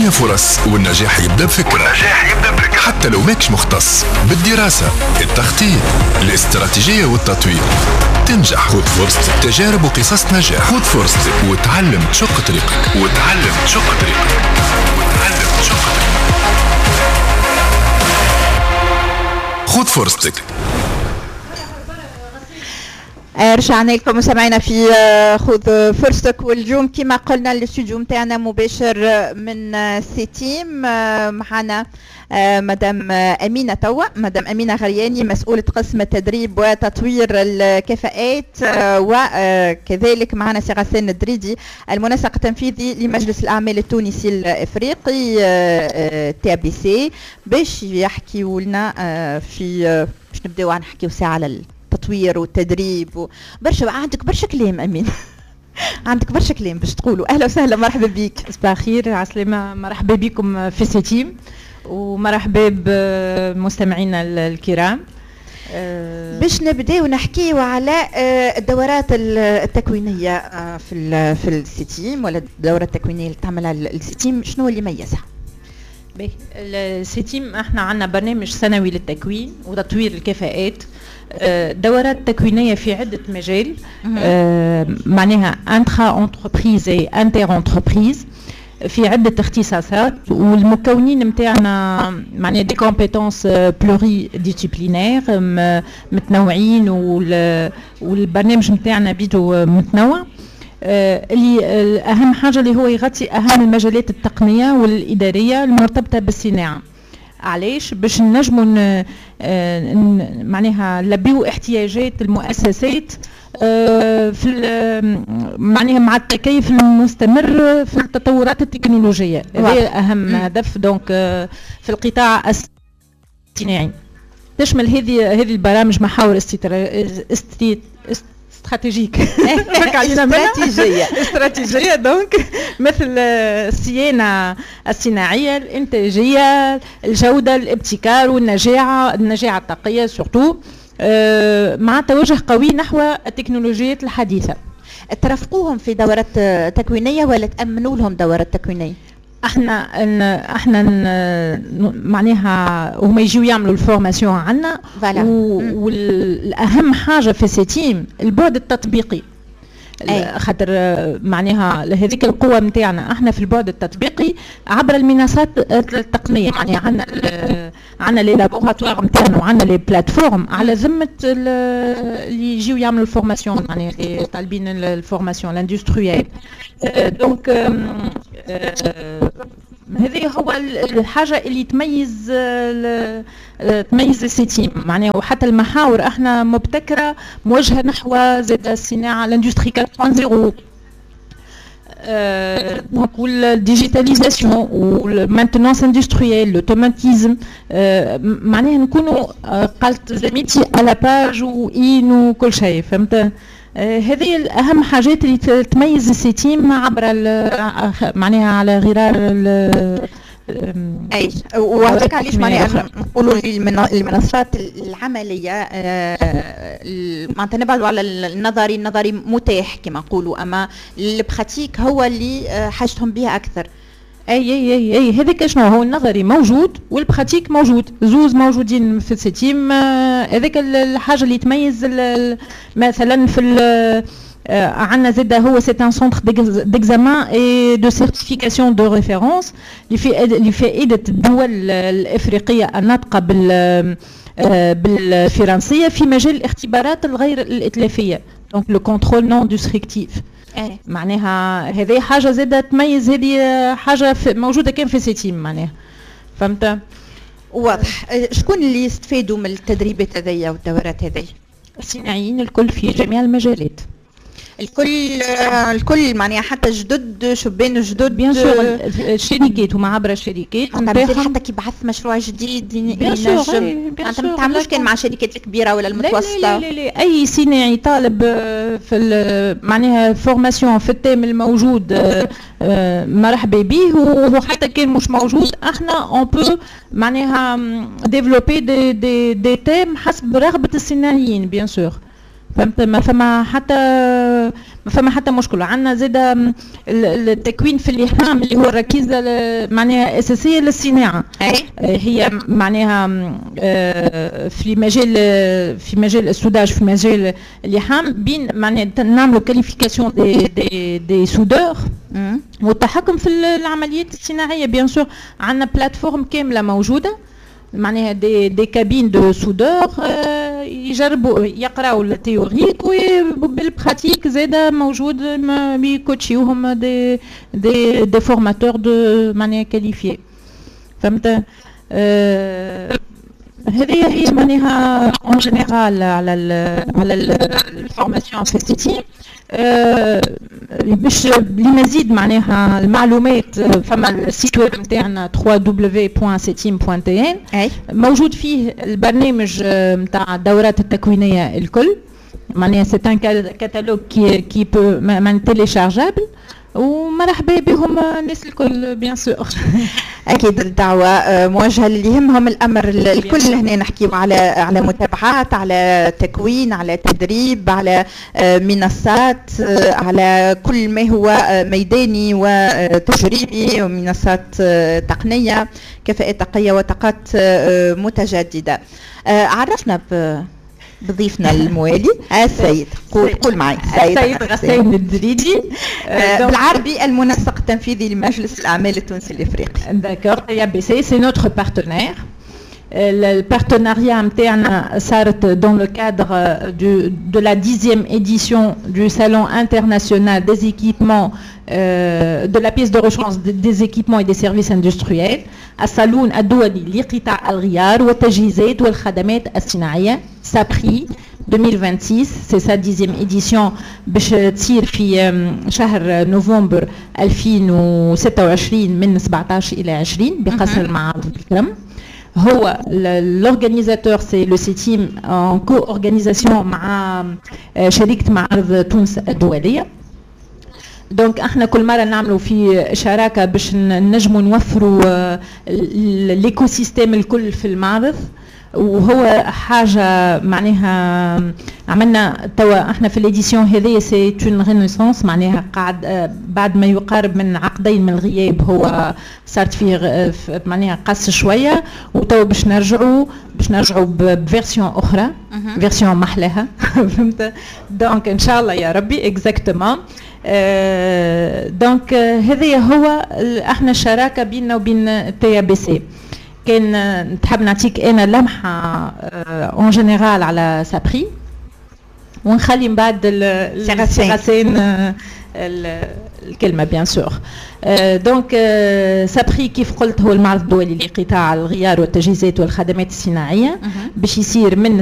الدنيا فرص والنجاح يبدا بفكرة. حتى لو ماكش مختص بالدراسة، التخطيط، الاستراتيجية والتطوير تنجح. خذ فرصتك، تجارب وقصص نجاح. خذ فرصتك وتعلم تشق طريقك، وتعلم تشق طريقك، وتعلم تشق طريقك. خذ فرصتك. رجعنا لكم وسمعنا في خذ فرصتك، واليوم كما قلنا الاستوديو نتاعنا مباشر من سيتيم. معنا مدام أمينة توا، مدام أمينة غرياني، مسؤولة قسم التدريب وتطوير الكفاءات، وكذلك معنا سي غسان الدريدي المنسق التنفيذي لمجلس الأعمال التونسي الإفريقي TABC، باش يحكيوا لنا في باش نبداو نحكيو ساعة على التطوير والتدريب. برشا عندك برشا كلام أمين، عندك برشا كلام باش تقولوا. أهلا وسهلا، مرحبا بك. صباح الخير، عسلامة، مرحبا بكم في سيتيم ومرحبا بمستمعينا الكرام. باش نبداو نحكيو على الدورات التكوينيه في السيتيم، ولا الدورة التكوينيه اللي تعملها السيتيم، شنو اللي يميزها؟ باهي، السيتيم احنا عندنا برنامج سنوي للتكوين وتطوير الكفاءات، دورات تكوينيه في عده مجال، معناها intra-entreprise et inter-entreprise، في عدة اختصاصات، والمكونين نتاعنا معناها des compétences pluridisciplinaires، متنوعين، والبرنامج نتاعنا بيدو متنوع. اللي اهم حاجة اللي هو يغطي اهم المجالات التقنية والادارية المرتبطة بالصناعة. علاش؟ باش نجموا معناها نلبيو احتياجات المؤسسات في معناها مع التكيف المستمر في التطورات التكنولوجية. هذا اهم هدف donc في القطاع الصناعي. تشمل هذه البرامج محاور stratégiques، استراتيجية donc مثل الصيانة الصناعية، الانتاجيه، الجوده، الابتكار والنجاعه، النجاعه الطاقية surtout، مع توجه قوي نحو التكنولوجيات الحديثة. ترافقوهم في دورات تكوينيه ولا تامنوا لهم دورات تكوينيه؟ احنا معناها هما يجيو يعملوا ال formation عندنا، والاهم حاجة في سيتيم البعد التطبيقي. خاطر معناها هذيك القوة نتاعنا احنا في البعد التطبيقي عبر المنصات التقنيه، معناها عندنا les laboratoires نتاعنا وعندنا les plateformes على ذمه اللي يجيو يعملوا ال formation، معناها اللي طالبين ال formation l'industriel. donc هذه هو الحاجة اللي تميز السيتيم، معناها وحتى المحاور احنا مبتكرة موجهة نحو زاد الصناعة l'industrie 4.0، donc وال digitalisation وال maintenance industrielle، l'automatisme، معناها نكونوا قالت زميلتي à la page وين وكل شيء، فهمت؟ هذه الأهم حاجات اللي تميز السيتيم عبر معناها على غرار اي. وهذاك علاش معناها نقولوا المنصات العملية، معناتها نبعدوا على النظري، النظري متاح كما نقولوا، اما ال pratique هو اللي حاجتهم به اكثر. اي اي اي اي، هذاك شنو هو، النظري موجود وال pratique موجود، زوز موجودين في السيتيم. هذاك الحاجة اللي تميز. مثلا في عندنا زاد هو c'est un centre d'examen et de certification de référence لفائدة الدول الافريقية الناطقة بالفرنسيه في مجال الاختبارات الغير الاتلافيه، donc le contrôle non destructif. معناها هذه حاجة زاده تميز، هذه حاجة موجودة كان في سيتيم، معناها فهمت؟ واضح. شكون اللي يستفادوا من التدريبات هذيا والدورات هذيا؟ الصناعيين الكل في جميع المجالات. الكل الكل، معناها حتى جدد، شبان جدد؟ bien sûr، الشركات هما عبر الشركات. حتى كي بعث مشروع جديد ينجم، معناتها ما تعملوش كان مع الشركات الكبيرة ولا المتوسطه؟ لا لا لا، لا. اي صناعي طالب في معناها formation في ال thème الموجود مرحبا به، وحتى كان مش موجود احنا on peut معناها développer des thèmes حسب رغبة الصناعيين bien sûr، فهمت؟ ما فما حتى ما فما حتى مشكله. عندنا زاد التكوين في اللحام اللي هو الركيزة معناها اساسية للصناعه. هي معناها في مجال ال soudage، في مجال اللحام، بين معناها نعملوا qualification des soudeurs والتحكم في العمليات الصناعيه. bien sûr عندنا plateforme كاملة موجوده، معناها des cabines de soudeurs، يجربوا، يقراو ال théorique وبال pratique زاده موجود، يكوتشيوهم des formateurs de معناها qualifiés، فهمت؟ هذه هي معناها en général على ال formation في سيتيم. باش لمزيد معناها المعلومات، فما ال site web نتاعنا www.cetim.tn، موجود فيه البرنامج نتاع الدورات التكوينيه الكل، معناها c'est un catalogue qui peut معناها téléchargeable، ومرحبا بهم الناس الكل bien sûr. اكيد الدعوة موجهة للي يهمهم الامر الكل. هنا نحكيو على متابعات، على تكوين، على تدريب، على منصات، على كل ما هو ميداني وتجريبي ومنصات تقنيه، كفاءات طاقية وطاقات متجدده. عرفنا بضيفنا الموالي السيد، قول قول معي. السيد غسان الدريدي. بالعربي المنسق التنفيذي لمجلس الاعمال التونسي الافريقي. D'accord, TABC, c'est notre partenaire. Le partenariat نتاعنا صارت dans le cadre de la 10e édition du Salon international des équipements, de la pièce de rechange des équipements et des services industriels، الصالون الدولي لقطاع الغيار والتجهيزات والخدمات الصناعية SAPRI 2026، c'est sa 10e édition، باش تصير في شهر نوفمبر 2026 من 17 إلى 20 بقصر المعارض بالكرم. هو l'organisateur c'est le CETIM en co-organisation مع شركة معارض تونس الدولية. donc احنا كل مرة نعملوا في شراكة باش نجموا نوفروا l'écosystème الكل في المعرض، وهو حاجة معناها عملنا توا احنا في l'édition هذه c'est une renaissance، معناها قاعد بعد ما يقارب من عقدين من الغياب، هو صارت فيه معناها قص شويه، وتوا باش نرجعوا ب version اخرى، version محلاها، فهمت؟ donc ان شاء الله يا ربي exactement. donc هذا هو احنا الشراكة بيننا وبين TABC. كان تحب نعطيك انا لمحه en général على SAPRI ونخلي من بعد غسان الكلمه، bien sûr. donc SAPRI كيف قلت هو المعرض الدولي لقطاع الغيار والتجهيزات والخدمات الصناعيه، باش يصير من